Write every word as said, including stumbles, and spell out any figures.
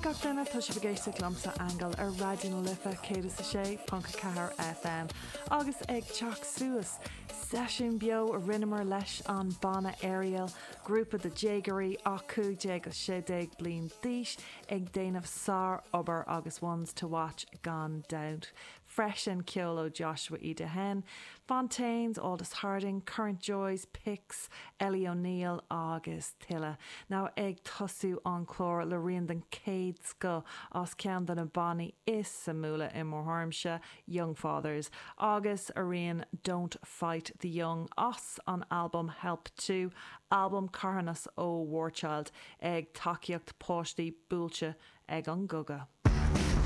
gach duine tá sibh ag éisteacht liomsa Aingeal ar Raidió na Life céad is a sé ponc a ceathair FM agus ag teacht suas seisiún beo a rinneamar leis an banna Ariel, grúpa de déagóirí ach cúig déag agus sé déag bliain d'aois ag déanamh sárobair agus ones to watch gan dabht. Freisin ceol ó Joshua Idehen, Fontaines, Aldous Harding, Current Joys, Pix, Ellie O'Neill agus tuilleadh. Now ag tosú an clár le rian den chéad scoth as ceann de na bannaí is suimiúla i mo thuairimse Young Fathers, agus a rian Don't Fight the Young as an album Help Two, album carthanas ó War Child ag tacaíocht páistí buailte ag an gcogadh.